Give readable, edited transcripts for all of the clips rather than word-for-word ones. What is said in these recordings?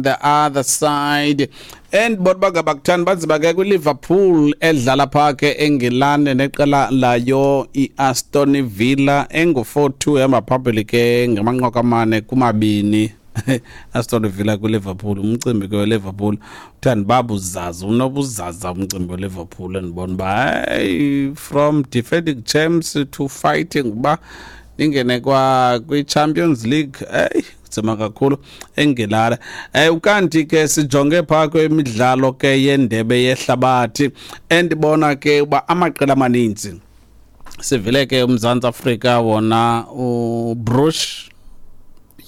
The other side, and bona bangabakuthandi banzima ke kwiLiverpool edlala phaa ke eNgilane neqela layo iAston Villa engu-4-2, ehamba phambili ke ngamanqaku 4-2 Aston Villa kwiLiverpool. Umcimbi ke weLiverpool uthanda babuzaza, unobuzaza umcimbi weLiverpool. Endibona uba hayi, from defending champs to fighting uba ningene kwa kwi-Champions League, eyi, nzima kakhulu eNgilane. Ukanti ke sijonge phaa kwemidlalo ke yendebe yehlabathi, endibona ke uba amaqela amaninzi sivile ke. UMzantsi Afrika wona, uBroos,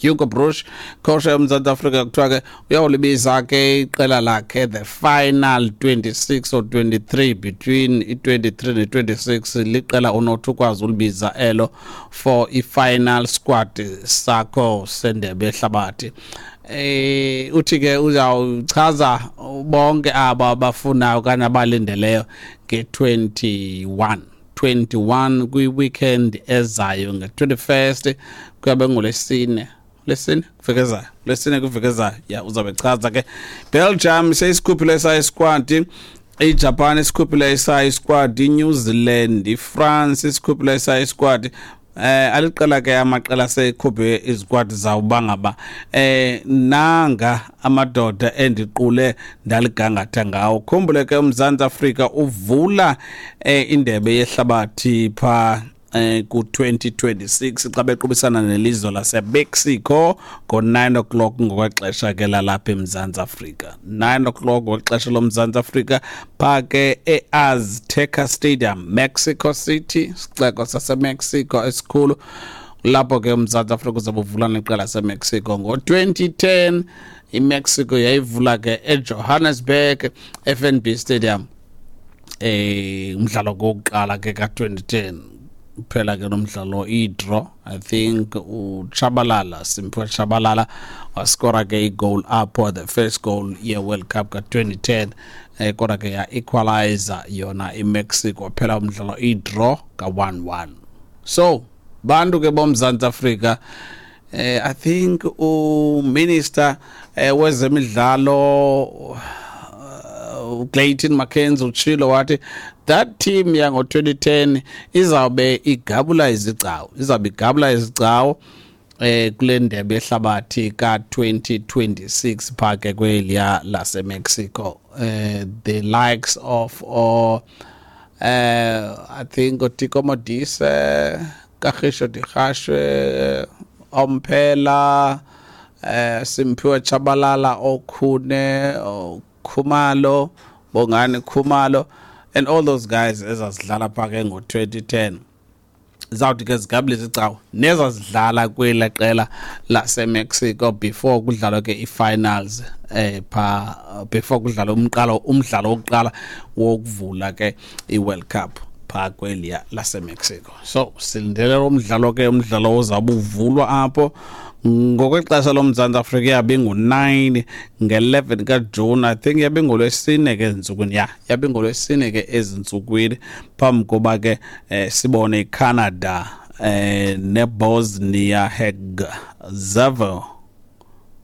Hugo Broos, coach yoMzantsi Afrika, kuthiwa ke uyawulibiza ke iqela lakhe the final 26 or 23, between i-23 ne-26 liqela onothi ukwazi ulibiza elo for i-final squad sakho sendebe yehlabathi. Uthi ke uzawuchaza bonke aba abafunayo okanye abalindeleyo nge-21 21 kwi-weekend ezayo, nge-21st, kuyabe ngolwesine, lesine kwiveki ezayo, lesine kwiveki ezayo. Ya, uzawube chaza ke. Belgium seyisikhuphile esayo squad, iJapan isikhuphile esayo squad, iNew Zealand, iFrance isikhuphile esayo squad. Aliqela ke amaqela sekhuphe izikwadi zawo bangaba nanga amadoda endiqule ndaligangatha ngawo. Khumbule ke, uMzantsi Afrika uvula indebe yehlabathi pha ku-2026 xa bequbisana nelizwe laseMexico ngo-9 o'clock ngokwexesha ke lalapha eMzantsi Afrika, 9 o'clock ngokwexesha loMzantsi Afrika, phaa ke e-Azteca Stadium, Mexico City, sixeko saseMexico esikhulu. Lapho ke uMzantsi Afrika uzabe uvula neqela laseMexico. Ngo-2010 iMexico yayivula ke eJohannesburg, FNB Stadium, umdlalo wokuqala ke ka-2010. Phela ke lo mdlalo i-draw, I think uTshabalala, Simphiwe Tshabalala, waskora ke igoal apho, the first goal ye-World Cup ka-2010, kodwa ke ya-equalizer yona iMexico, phela umdlalo i-draw ka-1-1. So bantu ke boMzantsi Afrika, I think uminister wezemidlalo uClayton McKenzie utshilo wathi that team yango-2010 izawube igabula izigcawu, izawube igabula izigcawu kule ndebe yehlabathi ka-2026 phaa ke kweliya laseMexico. The likes of or I think uTeko Modise, Kagisho Dikgacoi, Omphela, Simphiwe Tshabalala, oKhune, Khumalo, Bongani Khumalo and all those guys ezazidlala phaa ke ngo-2010 zawuthi ke zigabule izigcawu nezazidlala kwela qela laseMexico before kudlalwa ke i-finals pha before kudlalwa umqalo, umdlalo wokuqala wokuvula ke i-World Cup phaa kweliya laseMexico. So silindele umdlalo ke, umdlalo ozawube uvulwa apho ngokwexesha loMzantsi Afrika yabe ngu-9, nge-11 kaJuni, I think yabe ngolwesine ke ezintsukwini, ya, yabe ngolwesine ke ezintsukwini, phambi koba ke sibone iCanada neBosnia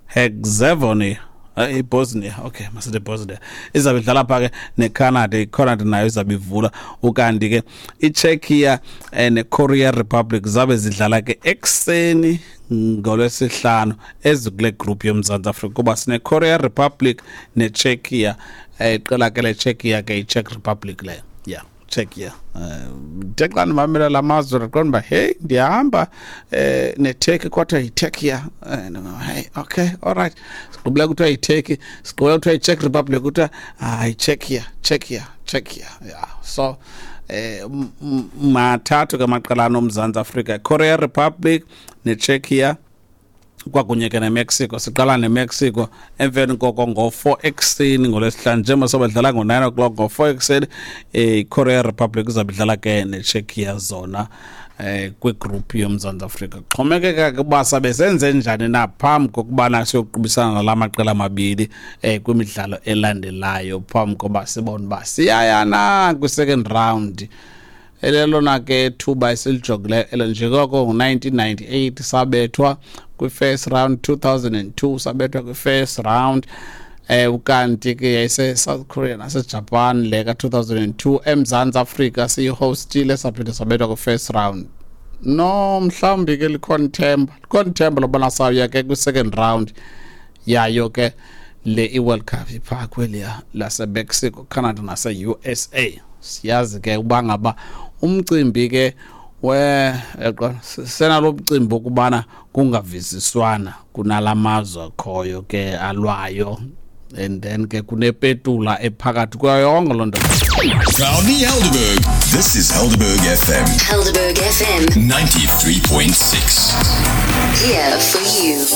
Herzegovina, iBosnia, okay, masithi Bosnia izabe idlala phaa ke neCanada. ICanada nayo izabe ivula. Ukanti ke iCzechia neKorea Republic zabe zidlala ke ekuseni ngolwesihlanu, ezikule group yoMzantsi Afrika, kuba sineKorea Republic neCzechia. Iqela ke leCzechia ke, iCzech Republic leyo, yeah, Czechia. Ndithe xa ndimamela la mazwe ndaqonda uba hey, ndiyahamba neTurkey, kodwa yiTurkey. Hey, okay, all right, sigqibile kuthiwa yiTurkey, sigqibile kuthiwa yiCzech Republic, kuthiwa hayi, Czechia, Czechia, Czechia, yeah. So mathathu ke amaqela anoMzantsi Afrika: Korea Republic neCzechia kwakunye ke neMexico. Siqala neMexico, emveni koko ngo-4 ekuseni ngolwesihlanu, njengoba sobadlala ngo-9 o'clock, ngo-4 ekuseni iKorea Republic izawube idlala ke neCzechia zona kwigroup yoMzantsi Afrika. Xhomekeka ke uba sabe senze njani na phambi kokubana siyoqubisana nala maqela mabini kwimidlalo elandelayo, phambi koba sibone uba siyaya na kwi-second round. Elelona ke thuba esilijongileyo elo, njengoko ngo-1998 sabethwa. kwi-first round, 2002 sabethwa kwi-first round. Ukanti ke yayise-South Korea naseJapan le ka-2002. EMzantsi Afrika siyihostile, saphinde sabethwa kwi-first round. No, mhlawumbi ke likhona ithemba, likhona ithemba lobana sawuya ke kwi-second round yayo ke le i-World Cup iphaa kweliya laseMexico, Canada nase-USA. Siyazi ke uba ngaba umcimbi ke we senalo mcimbi wokubana kungavisiswana kunala mazwe akhoyo ke alwayo, and then ke kunepetula ephakathi kwayo yonke loo nto. Proudly Helderberg. This is Helderberg FM. Helderberg FM 93.6. Here for you.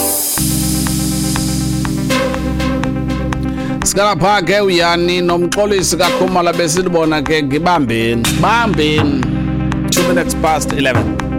Sikalapha ke uyani nomxolisi kaKhumalo besilibona ke ngibambeni bambeni 2 minutes past 11.